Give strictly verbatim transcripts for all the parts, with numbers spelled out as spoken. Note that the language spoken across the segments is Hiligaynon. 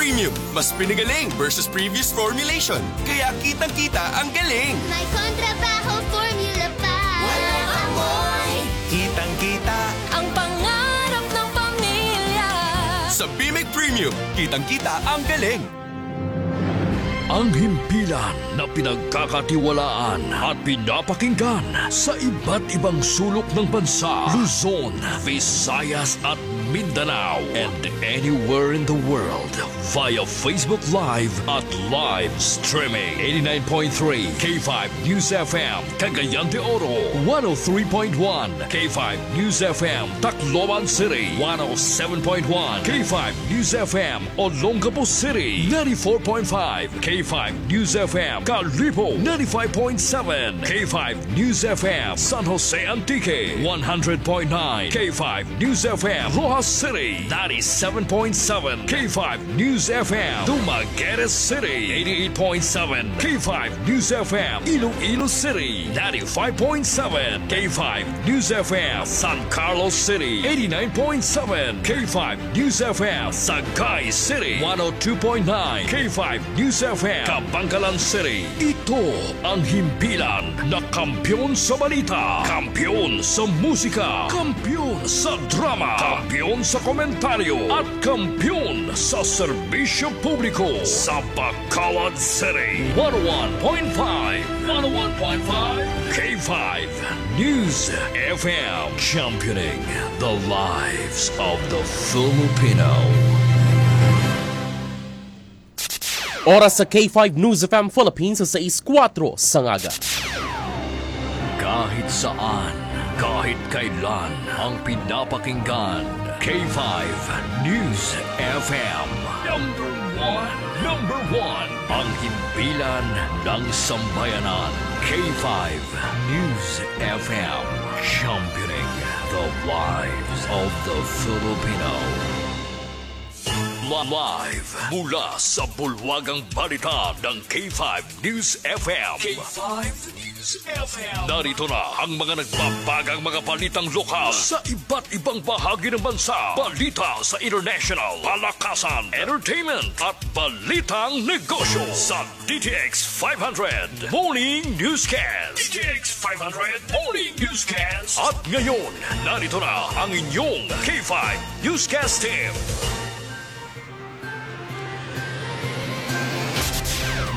Premium, mas pinagaling versus previous formulation. Kaya kitang-kita ang galing. May kontrabaho formula pa. Walang amoy. Kitang-kita. Ang pangarap ng pamilya. Sa Bimig Premium, kitang-kita ang galing. Ang himpilan na pinagkakatiwalaan at pinapakinggan sa iba't ibang sulok ng bansa, Luzon, Visayas at Mindanao, and anywhere in the world via Facebook Live at live streaming. Eighty-nine point three K five News F M, Cagayan de Oro, one oh three point one K five News F M, Tacloban City, one oh seven point one K five News F M, Olongapo City, ninety-four point five K five News F M, Kalibo, ninety-five point seven K five News F M, San Jose Antique, one hundred point nine K five News F M, Roxas City, ninety-seven point seven K five News F M, Dumaguete City, eighty-eight point seven K five News F M, Iloilo City, ninety-five point seven K five News F M, San Carlos City, eighty-nine point seven K five News F M, Sagay City, one oh two point nine K five News F M, Kabankalan City. Ito ang himpilan na kampiyon sa balita, kampiyon sa musika, kampiyon sa drama, kampiyon sa komentaryo, at kampiyon sa serbisyo publiko sa Bacolod City. One oh one point five, one oh one point five K five News F M, championing the lives of the Filipino. Oras sa K five News F M Philippines sa sais kuwatro sa aga. Kahit saan, kahit kailan, ang pinapakinggan, K five News F M. Number one, number one, ang himpilan ng sambayanan, K five News F M, championing the lives of the Filipino. Live mula sa bulwagang balita ng K five News F M. K five News F M. Narito na ang mga nagbabagang mga balitang lokal sa iba't ibang bahagi ng bansa. Balita sa international, palakasan, entertainment, at balitang negosyo sa D T X five hundred Morning Newscast. D T X five hundred Morning Newscast. At ngayon, narito na ang inyong K five Newscast Team.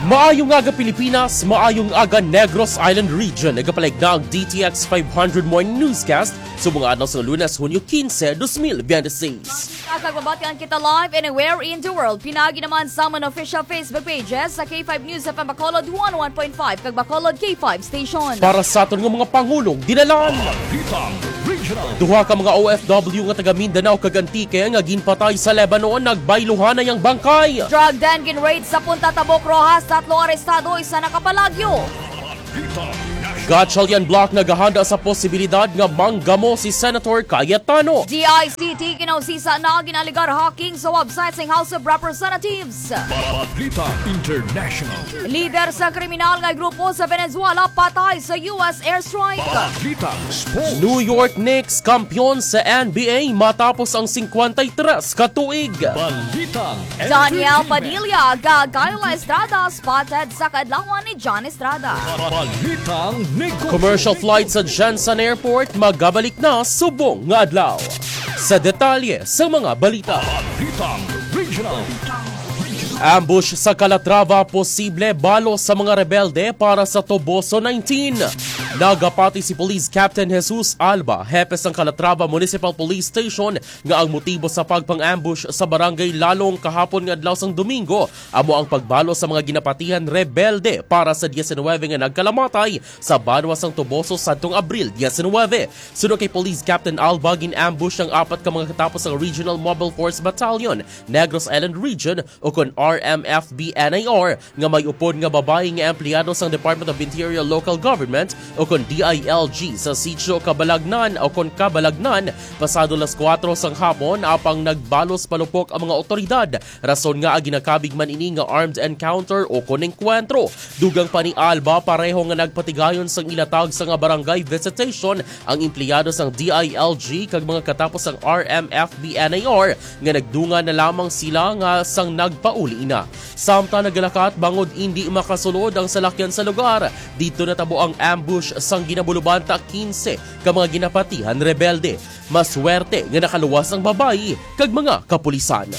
Maayong aga, Pilipinas, maayong aga, Negros Island Region. Nagapalig na ang D T X five hundred Morning Newscast subong adlaw sa Lunes, Hunyo quince, dos mil veintiséis. Kag mabatian kita live anywhere in the world. Pinaagi naman sa mga official Facebook pages sa K five News F M Bacolod one oh one point five kag Bacolod K five Station. Para sa aton nga mga pangulong dinalan. Balitang Regional. Duha ka mga O F W nga taga Mindanao kag Antique nga ginpatay sa Lebanon, nagbayluhan na yang bangkay. Drug den gin-raid sa Punta Tabok, Roxas, tatlo arestado, isa nakapalagyo. Balitang National. Gatchalian Block nagahanda sa posibilidad nga manggamo si Senator Cayetano. D I C T kinausisa na gin-alegar hacking sa website sang House of Representatives. Balitang International. Lider sa kriminal nga grupo sa Venezuela patay sa U S airstrike. Balitang Sports. New York Knicks kampiyon sa N B A matapos ang singkwenta y tres ka tuig. Balitang Daniel Entertainment. Padilla kag Kayla Estrada spotted sa kaadlawan ni John Estrada. Balitang Negosyo. Commercial flight sa Gensan Airport magabalik na subong nga adlaw. Sa detalye sa mga balita. Balitang Regional. Ambush sa Calatrava, posible balo sa mga rebelde para sa Toboso nineteen. Nagapati si Police Captain Jesus Alba, hepe sang Calatrava Municipal Police Station, nga ang motibo sa pagpang-ambush sa barangay Lalong kahapon nga adlaw sang Domingo amo ang pagbalo sa mga ginapatihan rebelde para sa diecinuebe nga nagkalamatay sa banwa sang Toboso sadtong Abril diecinuebe. Suno kay Police Captain Alba, gin-ambush ang apat ka mga katapos sang Regional Mobile Force Battalion, Negros Island Region, o kon R M F B N I R, nga may upod nga babayi nga empleyado sang Department of Interior Local Government, o kon D I L G, sa Sitio Kabalagnan, o kon Kabalagnan, pasado las kuwatro sang hapon, apang nagbalos palupok ang mga otoridad, rason nga ginakabig man ini nga armed encounter o kon engkwentro. Dugang pa ni Alba, pareho nga nagpatigayon sang ilatag sa nga barangay visitation ang empleyado sang D I L G kag mga katapos sang R M F B N I R, nga nagdungan na lamang sila nga sang nagpa uli na. Samtang nagalakat bangod indi makasulod ang salakyan sa lugar, didto natabo ang ambush sang ginabulubanta quince ka mga ginapatihan rebelde. Maswerte nga nakaluwas ang babayi kag mga kapulisan.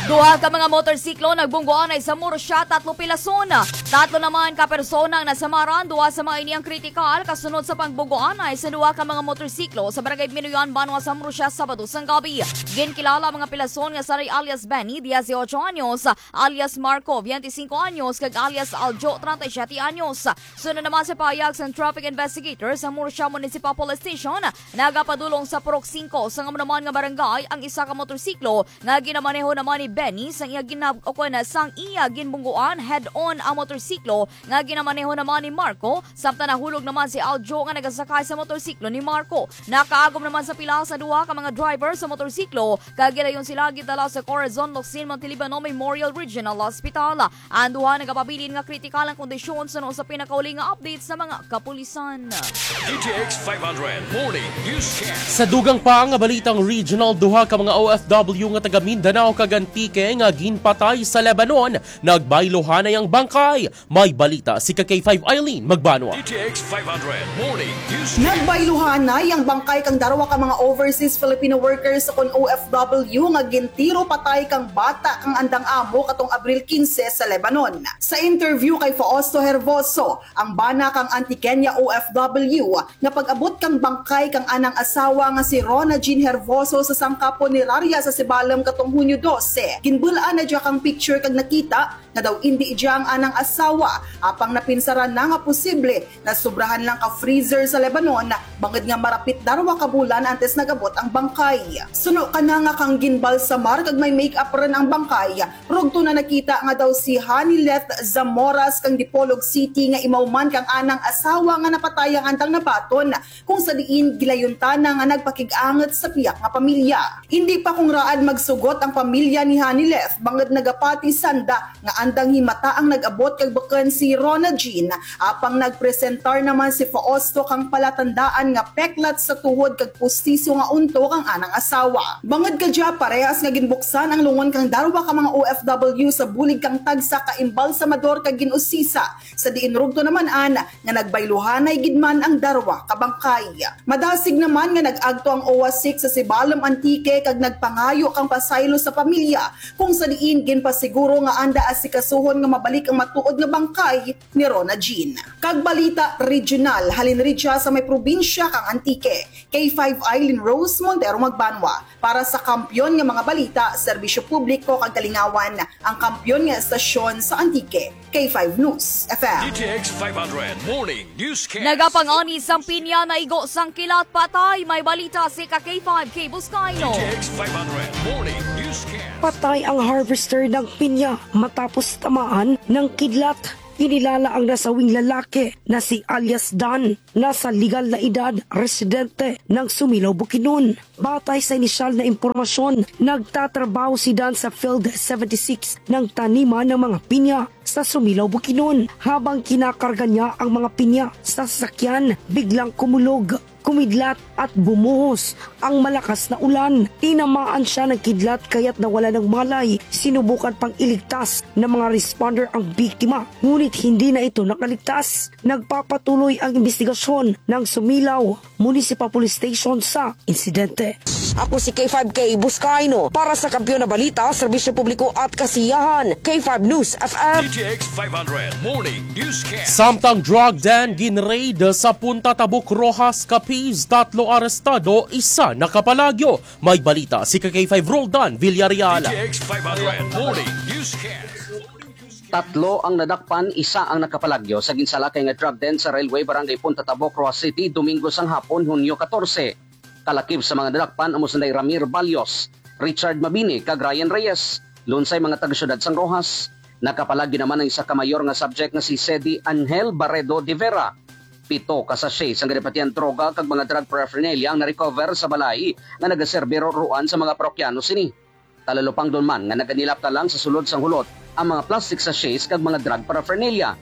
Duha ka mga motorsiklo nagbungguanay sa Murcia, tatlo pilason. Tatlo naman ka persona ang nasamaran, duha sa mga ini ang kritikal kasunod sa pagbungguanay sa duha ka mga motorsiklo sa Barangay Binuyan, Banwa sa Murcia, Sabado sang gabi. Ginkilala ang mga pilason nga saray alias Benny, dieciocho anyos, alias Marco, veinticinco anyos, kag alias Aljo, treinta y siete anyos. Sunod naman sa pahayag sang traffic investigator sa Murcia Municipal Police Station, nagapadulong sa Purok Cinco sang amo naman nga barangay ang isa ka motorsiklo nga ginamaneho naman ni Benny sang iya ginab-, o kon sang iya ginbungguan head-on ang motorsiklo nga ginamaneho naman ni Marco, samtang nahulog naman si Aljo nga nagasakay sa motorsiklo ni Marco. Nakaagom naman sa pila sa duha ka mga driver sa motorsiklo, kag gilayon sila gidala sa Corazon Locsin Montiliban Memorial Regional Hospital. Ang duha nagapabilin nga kritikal ang kondisyon suno sa pinakauli nga update sa mga kapulisan. D T X five hundred Morning Newscast. Sa dugang pa nga balitang regional, duha ka mga O F W nga taga Mindanao kag Antique nga ginpatay sa Lebanon, nagbayluhanay ang bangkay. May balita si ka K five Eileen Magbanwa. D T X five hundred Morning Newscast. Nagbayluhanay ang bangkay kang darwa ka mga overseas Filipino workers sa kon O F W nga gintiro patay kang bata kang andang amo katong Abril quince sa Lebanon. Sa interview kay Fausto Hervoso, ang bana kang Antiqueña O F W, nga pag-abot kang bangkay kang anang asawa nga si Rona Jean Hervoso sa sangka punerarya sa Sibalom katong Hunyo dose, ginbul-an na dya kang picture kag nakita nga daw indi dya ang anang asawa, apang napinsaran na nga posible nasobrahan lang ka freezer sa Lebanon, bangod nga marapit darwa ka bulan antes nag-abot ang bangkay. Suno kana nga kang ginbalsamar kag may make-up run ang bangkay, rugto na nakita nga daw si Hanileth Zamoras kang Dipolog City nga imaw man kang anang asawa nga napatay ang andang nabaton, kung sa diin gilayuntana nga nagpakig-angot sa piyak nga pamilya. Indi pa kung raad magsugot ang pamilya ni Hanileth bangod nagapati sanda nga andang himata ang nag-abot kag bukon si Rona Jean, apang nagpresentar naman si Fausto kang palatandaan nga peklat sa tuhod kag pustiso nga unto kang anang asawa. Bangod kadya, parehas nga ginbuksan ang lungon kang darwa ka mga O F W sa bulig kang tagsa ka imbalsamador kag gin-usisa, sa diin rugto naman-an nga nagbayluhanay gid man ang darwa ka bangkay. Madasig naman nga nag-agto ang OWWA six sa Sibalom, Antique, kag nagpangayo kang pasaylo sa pamilya, kung sa diin ginpasiguro nga anda asikasuhon nga mabalik ang matuod nga bangkay ni Rona Jean. Kag balita regional, halin ridya sa may probinsya kang Antique, K five Eileen Rose Montero Magbanwa. Para sa Kampiyon nga mga balita, serbisyo publiko kag kalingawan, ang kampiyon nga estasyon sa Antique, K five News F M. D T X five hundred Morning Newscast. Nagapangani sang pinya, naigo sang kilat, patay. May balita si ka K five Kay Buscaino. D T X five hundred Morning Newscast. Patay ang harvester ng pinya matapos tamaan ng kidlat. Kinilala ang nasawing lalaki na si alias Dan, nasa legal na edad, residente ng Sumilaw, Bukidnon. Batay sa inisyal na impormasyon, nagtatrabaho si Dan sa Field seventy-six ng taniman ng mga pinya sa Sumilaw, Bukidnon. Habang kinakarga niya ang mga pinya sa sasakyan, biglang kumulog, kumidlat at bumuhos ang malakas na ulan. Tinamaan siya ng kidlat kaya't nawala ng malay. Sinubukan pang iligtas ng mga responder ang biktima, ngunit hindi na ito nakaligtas. Nagpapatuloy ang investigasyon ng Sumilaw Municipal Police Station sa insidente. Ako si K five Kay Buscaino para sa Kampiyon na Balita, Serbisyo Publiko at Kasiyahan, K five News F M. D T X five hundred Morning Newscast. Samtang drug den ginraid sa Punta Tabuk, Roxas, Capiz, tatlo arestado, isa nakapalagyo. May balita si ka K five Roldan Villarreal. D T X five hundred Morning Newscast. Tatlo ang nadakpan, isa ang nakapalagyo sa ginsalakay nga drug den sa Railway Barangay Punta Tabok, Roxas City, Domingo sang hapon, Hunyo katorse. Kalakip sa mga nadakpan amo sanday Ramir Balios, Richard Mabini, kag Ryan Reyes, lunsay mga taga-syudad sang Roxas. Nakapalagyo naman ang isa ka mayor nga subject nga si Sedi Angel Barredo de Vera. Pito ka sachet sang ginapatihan droga kag mga drug paraphernalia ang na-recover sa balay nga nagaserbi ruruan sa mga parokyano sini. Talalupangdon man nga naganilap na lang sa sulod sang hulot ang mga plastic sachets kag mga drug paraphernalia.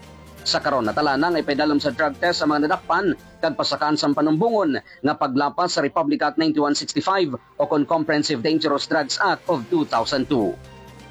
Sa karon, natala na nga ipaidalom sa drug test ang mga nadakpan kag pasakaan sang panumbongon nga paglapas sa Republic Act ninety-one sixty-five o kon Comprehensive Dangerous Drugs Act of two thousand two.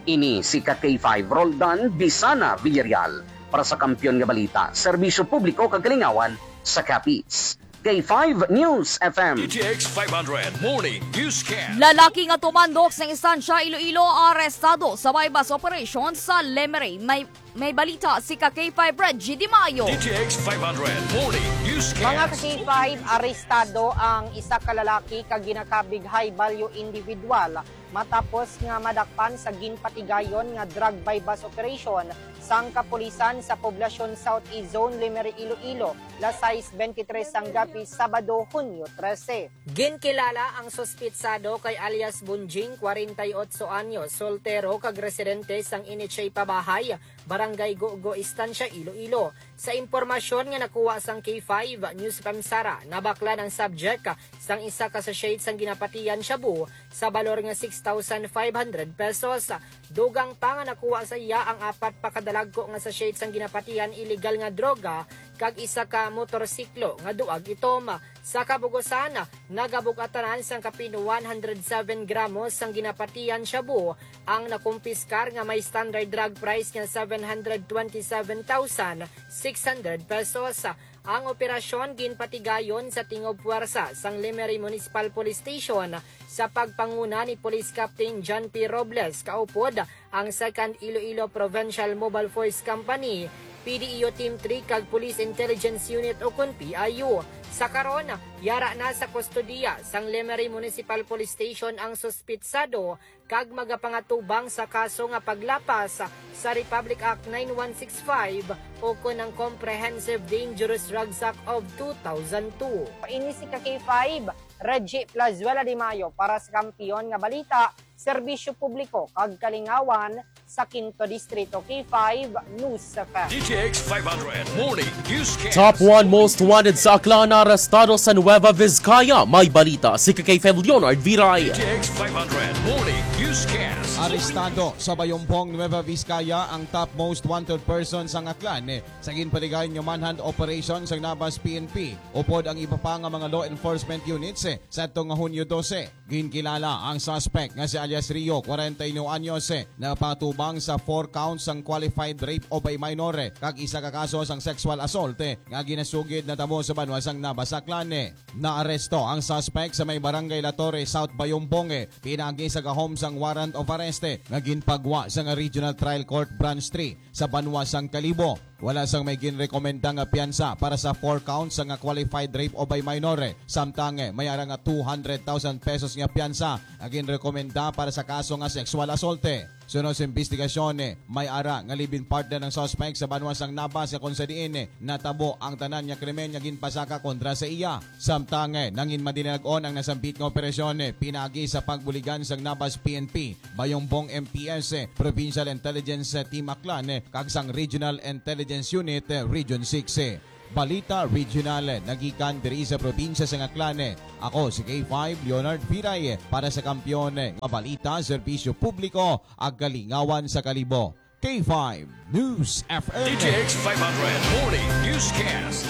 Ini si ka K five Roldan Bisana Villarreal para sa Kampiyon nga Balita, Serbisyo Publiko kag Kalingawan sa Capiz. K five News F M. D T X five hundred Morning Newscast. Lalaki nga tumandok sa instansya Iloilo arestado sa buy-bust operation sa Lemery. May, may balita si ka K five Reggie Di Mayo. D T X five hundred Morning Newscast. Mga ka K five, arestado ang isa ka lalaki kag ginakabig high value individual matapos nga madakpan sa ginpatigayon nga drug buy-bust operation sang kapulisan sa Poblacion South East Zone, Lemery, Iloilo, las sais bentitres sang gabi, Sabado, Hunyo trese. Ginkilala ang suspitsado kay alias Bunjing, kwarenta y otso anyos, soltero kag residente sang Iniche Pabahay, Barangay Gugo, Estancia, Iloilo. Sa impormasyon nga nakuha sang K five News F M Sara, nabaklan ang subject sang isa ka sachet sang ginapatian shabu sa balor nga six thousand five hundred pesos. Dugang pa nga nakuha sa iya ang apat pa ka dalagko nga sachet sang ginapatian iligal nga droga kag isa ka motorsiklo nga duag itom. Sa kabugusan, nagabug-atanan sang kapin one hundred seven gramos sang ginapatian shabu ang nakumpiskar nga may standard drug price nga seven hundred twenty-seven thousand six hundred pesos. Ang operasyon ginpatigayon sa tingob puwersa sang Lemery Municipal Police Station sa pagpanguna ni Police Captain John P Robles, kaupod ang Second Iloilo Provincial Mobile Force Company, P D E O Team three kag Police Intelligence Unit, ukon P I U. Sa karon, yara na sa kustodiya sang Lemery Municipal Police Station ang suspitsado kag magapangatubang sa kaso nga paglapas sa Republic Act nine one six five ukon ang Comprehensive Dangerous Drugs Act of two thousand two. Ini si ka K five, Reggie Plazuela de Mayo para sa Kampiyon nga Balita, Serbisyo Publiko kag Kalingawan sa Quinto Distrito, K five News F M. D T X five hundred Morning Newscast. Top one most wanted sa Aklan arestado sa Nueva Vizcaya. May balita si ka K five Leonard Viray. D T X five hundred Morning Newscast. Arestado sa Bayumbong, Nueva Vizcaya ang top most wanted person sang Aklan, eh, sa ginpatigayon nga manhunt operation sang Nabas P N P upod ang iba pa nga mga law enforcement units, eh, sa adto nga Hunyo dose. Ginkilala ang suspect nga si alias Rio, kwarenta y nuwelo anyos, eh, napatubang sa four counts sang qualified rape of a minor, eh, kag isa ka kaso sang sexual assault, eh, nga ginasugid natabo sa banwa sang Nabas, Aklan, eh. Naaresto ang suspect sa may Barangay La Torre, South Bayumbong, eh, pinaagi sa gahom sang warrant of arrest, eh, nga ginpagwa sang Regional Trial Court Branch three sa banwa sang Kalibo. Wala sang may ginrekomenda nga piyansa para sa four counts nga qualified rape of a minor, eh. Samtang, eh, may ara nga two hundred thousand pesos nga piyansa nga ginrekomenda para sa kaso nga sexual assault, eh. Sunod sa investigasyon, eh, may ara nga live-in partner ang suspect sa banwa sang Nabas nga kung sa diin, eh, natabo ang tanan nga krimen nga ginpasaka kontra sa iya. Samtang, eh, nangin madilag-on ang nasambit nga operasyon, eh, pinaagi sa pagbuligan sang Nabas P N P, Bayumbong M P S, eh, Provincial Intelligence, eh, Team Aklan, eh, kag sang Regional Intelligence Unit, eh, Region six, eh. Balita Regional, eh, nagikan diri sa probinsya sang Aklan, eh. Ako si K five Leonard Viray, eh, para sa Kampiyon, eh, nga Balita, Serbisyo Publiko, ag Kalingawan sa Kalibo. K five News F M. D T X five hundred Morning Newscast.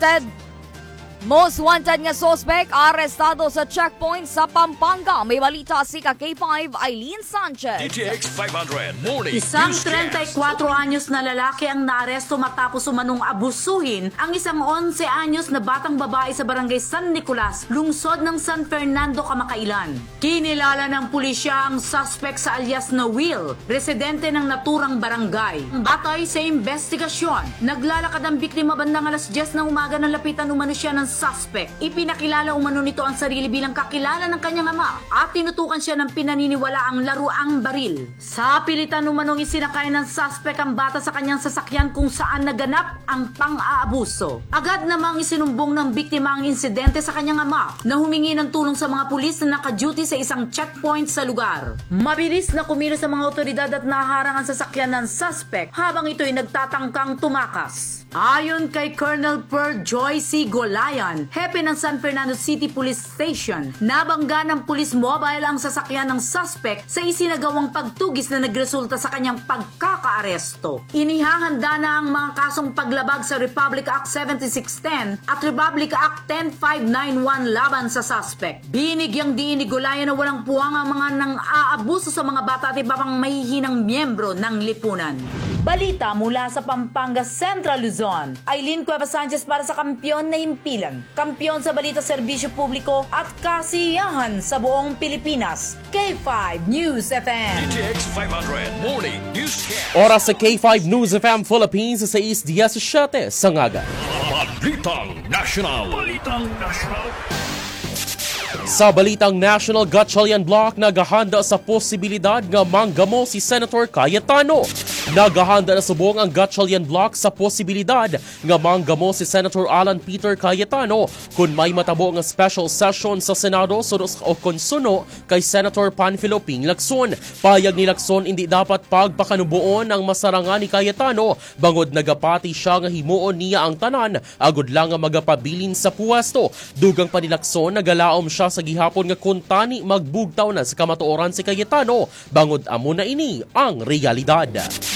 Ted, most wanted nga suspect arestado sa checkpoint sa Pampanga. May balita si ka K five Eileen Sanchez. D T X five hundred Morning Isang Newscast. Treinta y cuatro anyos na lalaki ang naaresto matapos umanong abusuhin ang isang onse anyos na batang babae sa barangay San Nicolas, lungsod ng San Fernando, kamakailan. Kinilala ng pulisya ang suspect sa alias na Will, residente ng naturang barangay. Batay sa investigasyon, naglalakad ang biktima bandang alas diyes ng umaga nang lapitan umano siya ng suspect. Ipinakilala umano nito ang sarili bilang kakilala ng kanyang ama at tinutukan siya ng pinaniniwalaang laruang baril. Sa pilitan umanong isinakay ng suspect ang bata sa kanyang sasakyan kung saan naganap ang pang-aabuso. Agad namang isinumbong ng biktima ang insidente sa kanyang ama na humingi ng tulong sa mga pulis na naka-duty sa isang checkpoint sa lugar. Mabilis na kumilos ang mga otoridad at naharang ang sasakyan ng suspect habang ito'y nagtatangkang tumakas. Ayon kay Colonel Per Joy C. Golay, Hepe ng San Fernando City Police Station, nabangga ng police mobile ang sasakyan ng suspect sa isinagawang pagtugis na nagresulta sa kanyang pagkakaaresto. Inihahanda na ang mga kasong paglabag sa Republic Act seventy-six ten at Republic Act ten five nine one laban sa suspect. Binigyang diin ni Gulayan na walang puwang ang mga nang-aabuso sa mga bata at iba pang mahihinang miyembro ng lipunan. Balita mula sa Pampanga, Central Luzon. Aileen Cuevas Sanchez para sa Kampiyon na Himpilan. Kampiyon sa balita, serbisyo publiko at kasiyahan sa buong Pilipinas. K five News F M. D T X five hundred Morning Newscast. Oras sa K five News F M Philippines, sais diecisiete sa ngaga. Balitang National. Balitang National. Sa balitang national, Gatchalian Bloc nagahanda sa posibilidad nga manggamo si Senator Cayetano. Nagahanda na subong ang Gatchalian Bloc sa posibilidad nga manggamo si Senator Alan Peter Cayetano kon may matabo nga special session sa Senado suno o kon suno kay Senator Panfilo Ping Lacson. Pahayag ni Lacson, indi dapat pagpakanuboon ang masarangan ni Cayetano bangod nagapati sia nga himuon niya ang tanan agod lang nga magapabilin sa puwesto. Dugang pa ni Lacson, nagalaom sia sa gihapon nga kuntani magbugtaw na sa kamatuoran si Cayetano, bangod amo na ini ang realidad.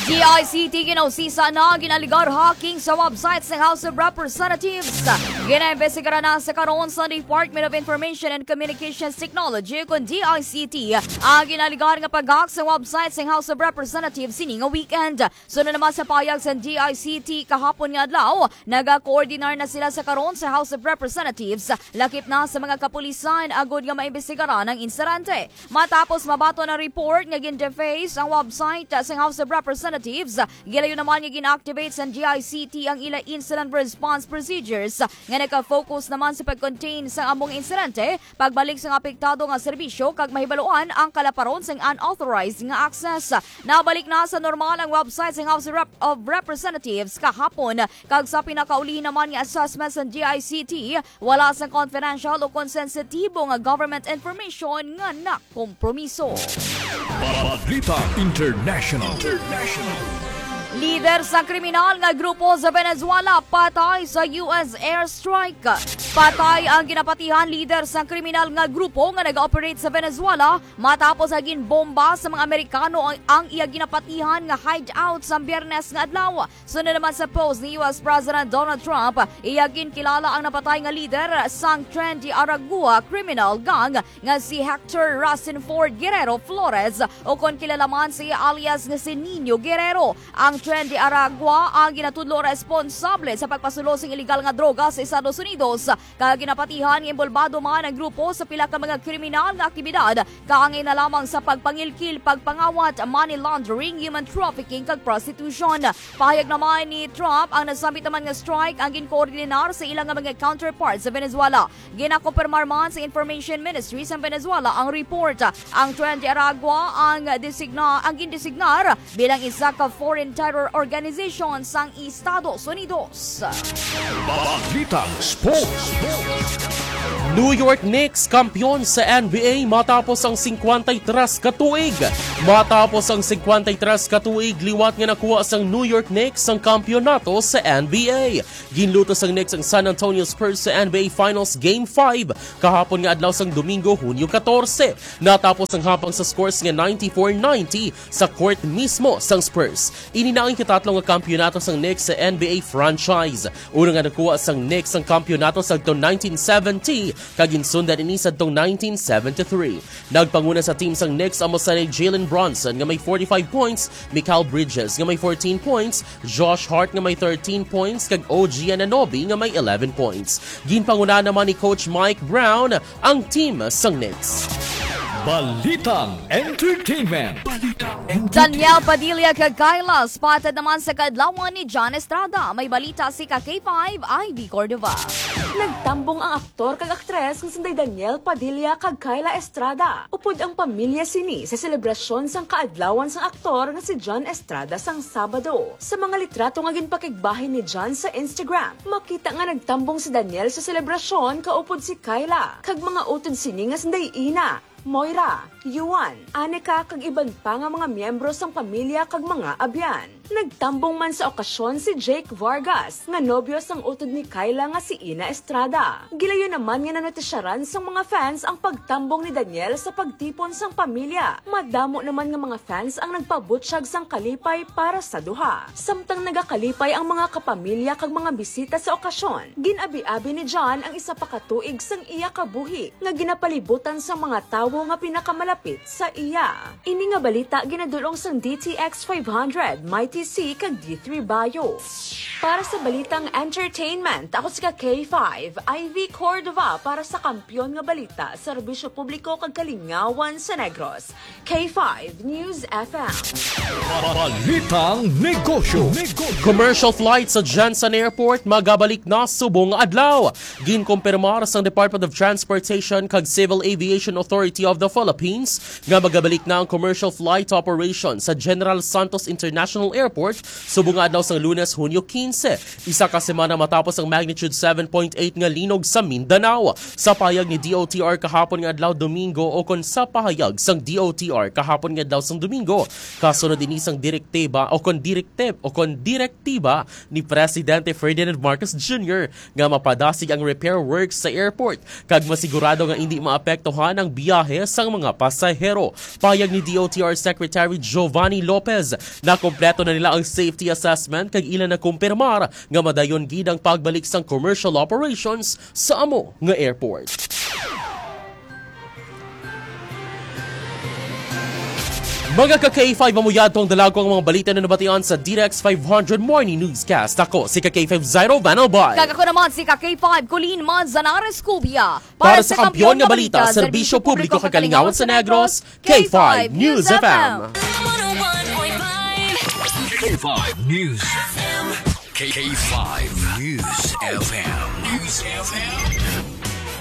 D I C T ginausisa na ginaligar hacking sa website sang House of Representatives. Ginaimbestigaran na sa karon sa Department of Information and Communications Technology, kon D I C T, ang ginaligar nga pag-hack sa website sang House of Representatives sini nga weekend. Suno naman sa payag sa D I C T kahapon nga adlaw, nagakoordinar na sila sa karon sa House of Representatives, lakip na sa mga kapulisan, agud nga maimbestigaran ang insidente. Matapos mabaton ang report nga gin-deface ang website sa House of Representatives, gilayon naman nga gin-activate sa D I C T ang ila incident response procedures nga nagka-focus naman sa pag-contain sa amo nga insidente, pagbalik sang apektado nga serbisyo kag mahibaluan ang kalaparon sang unauthorized nga access. Nabalik na sa normal ang website sang House of Rep-, of Representatives kahapon, kag sa pinakaulihi naman nga assessment sang D I C T, wala sang confidential o kon sensitibo nga government information nga nakompromiso. Balita International. Lider sa kriminal nga grupo sa Venezuela patay sa U S airstrike. Patay ang ginapatihan lider sa kriminal nga grupo nga nag-operate sa Venezuela matapos nga ginbomba sa mga Amerikano ang, ang iya ginapatihan nga hideout sa Biyernes nga adlaw. Suno naman sa post ni U S President Donald Trump, iya ginkilala ang napatay nga lider sang Tren de Aragua criminal gang nga si Hector Rasenford Guerrero Flores, o kon kilala man sa iya alias nga si Nino Guerrero. Ang Tren de Aragua ang ginatudlo responsable sa pagpasulo sing iligal nga droga sa Estados Unidos, kag ginapatihan nga inbolbado man ang grupo sa pila ka mga kriminal nga aktibidad, kaangay na lamang sa pagpangilkil, pagpangawat, money laundering, human trafficking, kag prostitution. Pahayag naman ni Trump, ang nasambit naman nga strike ang ginkoordinar sa ila nga mga counterparts sa Venezuela. Ginakumpirmar man sa Information Ministry sa Venezuela ang report. Ang Tren de Aragua ang designa-, ang gindesignar bilang isa ka foreign terror organization sang Estados Unidos. Balitang Sports. New York Knicks kampiyon sa N B A matapos ang singkwenta y tres ka tuig. Matapos ang singkwenta y tres ka tuig liwat nga nakuha sang New York Knicks ang kampiyonato sa N B A. Ginluto sang Knicks ang San Antonio Spurs sa N B A Finals Game five kahapon nga adlaw sang Domingo, Hunyo katorse. Natapos ang hapang sa scores nga ninety-four ninety sa court mismo sang Spurs. Ini na ang ikatatlo nga kampiyonato sang Knicks sa N B A franchise. Una nga nakuha sang Knicks ang kampiyonato sadtong nineteen seventy, kag ginsundan ini sadtong nineteen seventy-three. Nagpanguna sa team sang Knicks ang masanay Jalen Brunson nga may forty-five points, Mikal Bridges nga may fourteen points, Josh Hart nga may thirteen points, kag O G Anunoby nga may eleven points. Ginpangunahan naman ni Coach Mike Brown ang team sang Knicks. Balitang Entertainment. Daniel Padilla kag Kyla spotted naman sa kaadlawan ni John Estrada. May balita si ka K five, Ivy Cordova. Nagtambong ang aktor kag aktres nga sinday Daniel Padilla kag Kyla Estrada upod ang pamilya sini sa selebrasyon sang kaadlawan sang aktor nga si John Estrada sang Sabado. Sa mga litrato nga ginpakigbahin ni John sa Instagram, makita nga nagtambong si Daniel sa selebrasyon kaupod si Kyla kag mga utod sini nga sinday ina, Moira, Yuan, Anika kag iban pa nga mga miyembro sang pamilya kag mga abyan. Nagtambong man sa okasyon si Jake Vargas, nga nobyo sang utod ni Kyla nga si Ina Estrada. Gilayon naman nga nanotisyaran sang mga fans ang pagtambong ni Daniel sa pagtipon sang pamilya. Madamo naman nga mga fans ang nagpabutyag sang kalipay para sa duha. Samtang nagakalipay ang mga kapamilya kag mga bisita sa okasyon, gin-abi-abi ni John ang isa pa ka tuig sang iya kabuhi nga ginapalibutan sang mga tawo nga pinakamalapit sa iya. Ini nga balita ginadul-ong sang D T X five hundred, Mighty C, kag D three Bio. Para sa balitang entertainment, ako si ka K five, Ivy Cordova, para sa Kampiyon nga Balita, Serbisyo Publiko kag Kalingawan sa Negros. K five News F M. Balitang negosyo. Commercial flight sa Jensen Airport magabalik na subong adlaw. Ginkumpirmar sang Department of Transportation kag Civil Aviation Authority of the Philippines nga magabalik na ang commercial flight operation sa General Santos International Airport subong nga adlaw sang Lunes, Hunyo quince, isa ka semana matapos ang magnitude seven point eight nga linog sa Mindanao. Sa pahayag ni D O T R kahapon nga adlaw Domingo, o kon sa pahayag sang D O T R kahapon nga adlaw sang Domingo, kasunod ini sang direktiba o kon direktib-, o kon direktiba ni Presidente Ferdinand Marcos Junior nga mapadasig ang repair works sa airport kag masigurado nga indi maapektuhan ang biyahe sang mga pasahero. Pahayag ni D O T R Secretary Giovanni Lopez, nakompleto na nila ang safety assessment kag ila nakumpirmar nga madayon gid ang pagbalik sang commercial operations sa amo nga airport. Mga ka K five, amo yadto ang dalagko ang mga balita na nabatian sa D T X five hundred Morning Newscast. Ako si ka K five Zairo Van Albay. Kag ako naman si ka K five Colleen Manzanares Cubia. Para sa Kampiyon nga Balita, Serbisyo Publiko kag Kalingawan sa Negros, K five News F M. K five News F M. K five News F M. News F M.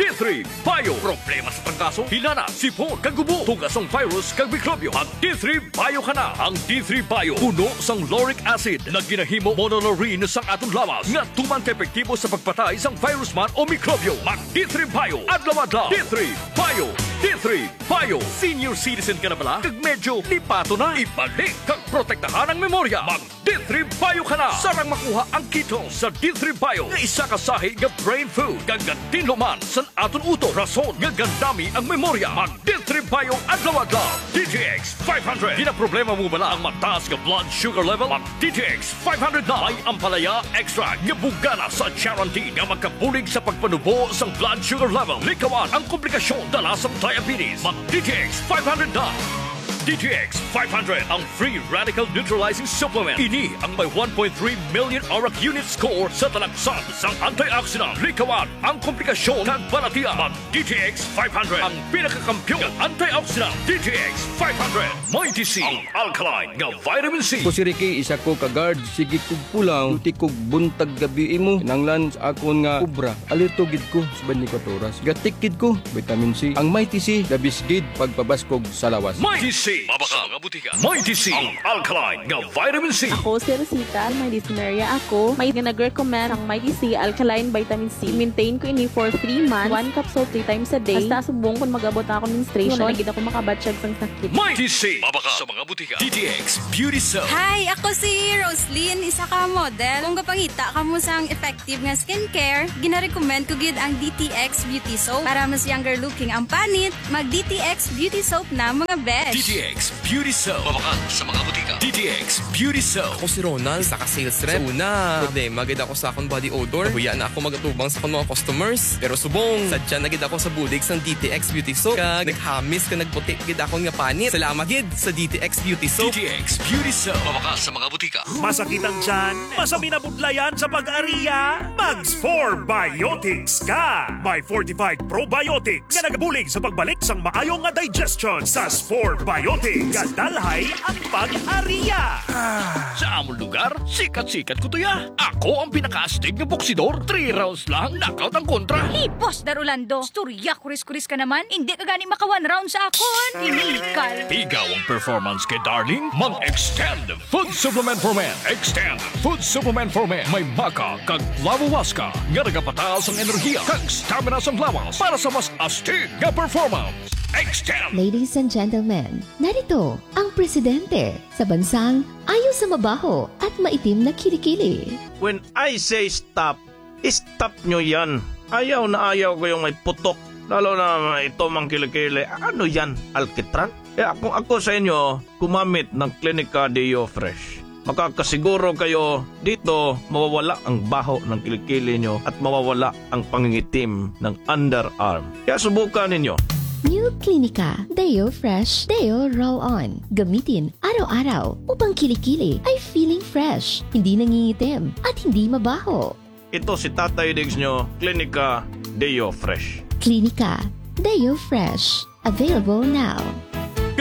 D three Bio. Problema sa trangkaso, hilana, sipon, kag ubo, tugas sang virus kag mikrobyo. Mag D three Bio ka na. Ang D three Bio puno sang lauric acid nga ginahimo monolaurin sang aton lawas nga tuman ka epektibo sa pagpatay sang virus man o mikrobyo. Mag D three Bio adlaw-adlaw. D three Bio. D three Bio. Senior citizen ka na bala? Kag medyo lipaton na? Ibalik kag protektahan ang memorya. Mag D three Bio ka na. Sarang makuha ang ketones sa D three Bio nga isa ka sahi nga brain food kag gatinlo man sa aton utok, rason nga gandami ang memorya. Mag D three Bio adlaw-adlaw. D T X five hundred. Ginaproblema mo bala ang mataas nga blood sugar level? Mag D T X five hundred na. May ampalaya extract nga bugana sa charantin nga makabulig sa pagpanubo sang blood sugar level. Likawan ang komplikasyon dala sang diabetes. Mag D T X five hundred na. D T X five hundred, ang free radical neutralizing supplement. Ini ang may one point three million arak unit score sa talaksan sang antioxidant. Likawan ang komplikasyon kag balatian. Mag D T X five hundred, ang pinakakampiyon nga antioxidant. D T X five hundred, Mighty C, ang alkaline nga vitamin C. Ako si Ricky, isa ko ka guard. Sige kog pulaw, duty kog buntag gabi imo. Kinahanglan sa akon nga obra. Alerto gid ko sa twenty-four oras. Gatik gid ko, vitamin C. Ang Mighty C, the best gid pagpabaskog sa lawas. Mighty C, mabaka nga butika. Mighty C, ang alkaline nga vitamin C. Ako si Rosita, may dysmenorrhea ako. May nga nag-recommend ang Mighty C alkaline vitamin C. Maintain ko ini for three months. One capsule three times a day. Hasta subong kung mag-abot na ako menstruation, Sunod. Na gid ako makabatyag sang sakit. Mighty C, mabaka sa mga butika. D T X Beauty Soap. Hi, ako si Roslyn, isa ka model. Kung gapangita kamo sang effective nga skincare, ginarecommend ko gid ang D T X Beauty Soap. Para mas younger looking ang panit, mag D T X Beauty Soap na, mga besh. D T X Beauty Soap. Mabakal sa mga butika. D T X Beauty Soap. Ako si Ronald, isa ka sales rep. Sa una, problema gid ako sa akong body odor. Nahuya na ako mag-atubang sa akong mga customers. Pero subong, sadya na gid ako sa bulig sang D T X Beauty Soap. Kag naghamis ka, nagputi gid akong nga panit. Salamat gid sa D T X Beauty Soap. D T X Beauty Soap. Mabakal sa mga butika. Masakit ang tiyan? Masabi na budlayan sa pag-ariya? Mag Spore Biotics ka! May fortified probiotics nga nagabulig sa pagbalik sang maayo nga digestion. Sa Spore Biotics, gadalhay ang pag-ariya. Sa amon lugar, sikat-sikat ko to ya. Ako ang pinakaastig nga boksidor. Three rounds lang, knockout ang kontra. Hipos, Dar Orlando. Istorya, kuris-kuris ka naman. Hindi ka gani maka one round sa akon. Inilikal. Ikaw ang performance kay Darling? Mag-Extend Food Supplement for Men. Extend Food Supplement for Men. May maca kag flavowaska nga nagapataas ang enerhiya kag stamina sang lawas para sa mas astig nga performance. Ladies and gentlemen, narito ang presidente sa bansang ayaw sa mabaho at maitim na kilikili. When I say stop, stop nyo yan. Ayaw na ayaw ko yung may putok. Lalo na ito mang kilikili. Ano yan, alkitran? Kaya kung ako sa inyo, gumamit ng Clinica Deo Fresh. Makakasiguro kayo dito mawawala ang baho ng kilikili nyo at mawawala ang pangingitim ng underarm. Kaya subukan ninyo. New Clinica Deo Fresh Deo Roll On. Gamitin araw-araw upang kilikili ay feeling fresh, hindi nangingitim, at hindi mabaho. Ito si Tatay Diggs nyo, Clinica Deo Fresh. Clinica Deo Fresh. Available now.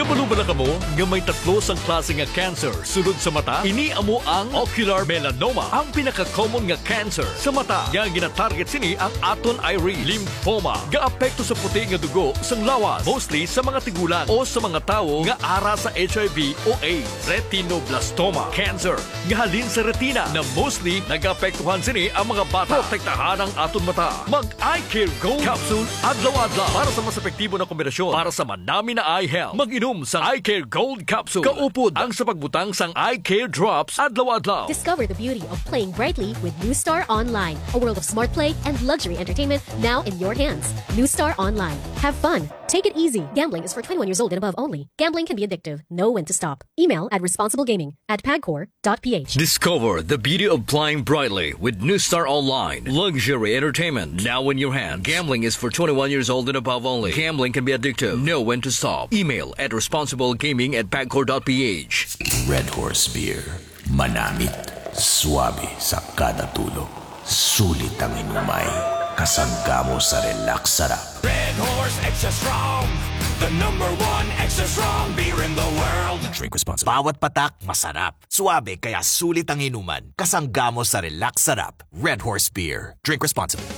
Kabalo ba na kamo nga may tatlo sang klase nga cancer sulod sa mata? Ini amo ang ocular melanoma, ang pinaka-common nga cancer sa mata nga ginatarget sini ang aton iris. Lymphoma, gaapekto sa puti nga dugo sang lawas, mostly sa mga tigulang o sa mga tawo nga ara sa H I V o AIDS. Retinoblastoma cancer, nga halin sa retina, na mostly nagaapektuhan sini ang mga bata. Protektahan ang aton mata. Mag Eye Care Gold Capsule adlaw-adlaw para sa mas epektibo na kombinasyon para sa manami na eye health. Mag-inom sang Eye Care Gold Capsule kaupod ang sa pagbutang sang Eye Care Drops adlaw-adlaw. Discover the beauty of playing brightly with New Star Online, a world of smart play and luxury entertainment now in your hands. New Star Online. Have fun. Take it easy. Gambling is for twenty-one years old and above only. Gambling can be addictive. Know when to stop. Email at responsiblegaming at pagcor dot ph. Discover the beauty of playing brightly with New Star Online. Luxury entertainment now in your hand. Gambling is for twenty-one years old and above only. Gambling can be addictive. Know when to stop. Email at responsiblegaming at pagcor dot ph. Red Horse Beer. Manamit, suabe sa kada tulo. Sulit ang inumay. Kasangga mo sa relax sarap. Red Horse Extra Strong, the number one extra strong beer in the world. Drink responsibly. Bawat patak, masarap. Suabe, kaya sulit ang inuman. Kasangga mo sa relax sarap. Red Horse Beer. Drink responsibly.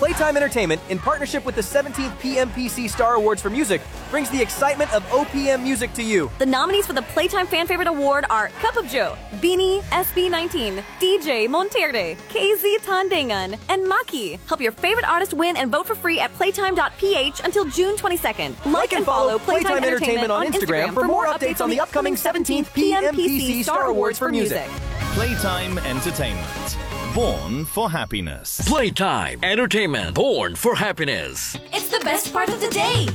Playtime Entertainment, in partnership with the seventeenth P M P C Star Awards for Music, brings the excitement of O P M music to you. The nominees for the Playtime Fan Favorite Award are Cup of Joe, Beanie, S B nineteen, D J Monterde, K Z Tandangan, and Maki. Help your favorite artist win and vote for free at playtime dot p h until June twenty-second. Like and follow Playtime Entertainment on Instagram for more updates on the upcoming seventeenth P M P C Star Awards for Music. Playtime Entertainment. Born for happiness. Playtime Entertainment. Born for happiness. It's the best part of the day.